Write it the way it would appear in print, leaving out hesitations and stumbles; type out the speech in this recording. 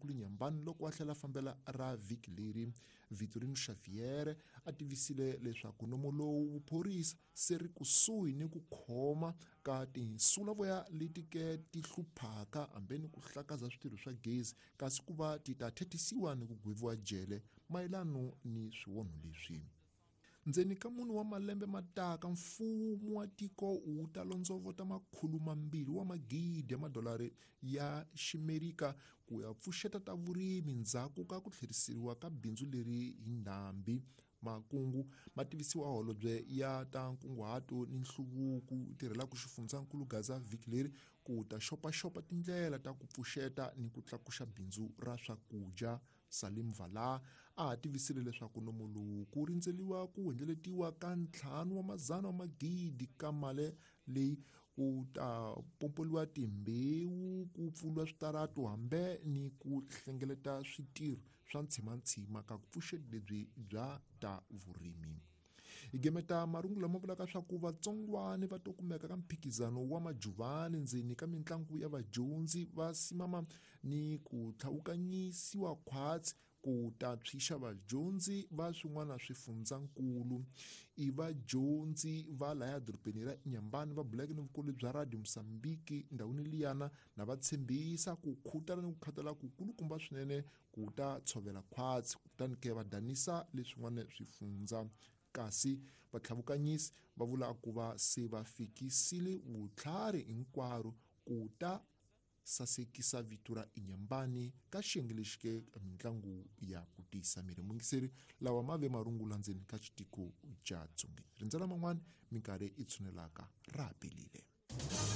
Dorobankulu Nyambani loko a hlela fambela ra vhiki leri. Vitorino Xavier a tivisile leswaku nomo lowu vuphorisa se ri kusuhi ni ku khoma ka tinsulavoya leti ke ti hluphaka hambe ni ku hlakaza switirho swa gezi kasi ku va ti ta thethisiwa ni ku gweviwa jele mayelano ni swiwonho leswi. Ndzeni ka mune wa malembe ma taka, mfumo wa tiko wu ta londzovota 200 wa magidi ya madolari ya Ximerika ku ya pfuxeta ta vurimi ndzhaku ka ku tlheriseriwa ka bindzu leri hi ndhambi. Makungu ma tivisiwa holobye ya ta nkunguhato ni nhluvuko tirhelaka xifundzankulu Gaza vhiki leri ku ta xopaxopa tindlela ta ku pfuxeta ni ku tlakuxa bindzu ra swakudya. Salim Vala a ha tivisile leswaku nomo lowu ku rindzeliwa ku hundzeletiwa ka 500 wa magidi ka mali leyi ku ta pompoliwa timbewu ku pfuriwa switaratu hambe ni ku hlengeleta switirho swa ntshimantshima ka ku pfuxeti lebyi bya ta vurimi. Hi gemeta marungu lama vulaka swa ku vatsongwani va to kumeka ka mphikizano wa majuvani ndzeni ka mitlangu ya vadyondzi va simama ni ku tlhawukanyisiwa khwatsi ku ta tshwixa vadyondzi va swin'wana swifundzankulu. I vadyondzi va laya dorobeni ra Inhambane va buleke ni vukulu bya Radio Mozambique ndhawini liyana na va tshembisa ku khutala ni ku khatala ku kulukumba swinene ku ta tshovela khwatsi kutani ke va danisa leswin'wana swifundza. Kasi vatlhavukanyisi va vula ku va se va fikisile vutlhari hinkwaro ku ta sasekisa vito ra Inhambane ka xiyenge lexi ke mitlangu ya ku tiyisa miri. Muyingiseri, lawa ma ve marungula ndzeni ka xitiko xa Dzongeni. Rindzela man'wana minkarhi i tshunelaka ra ha pelile.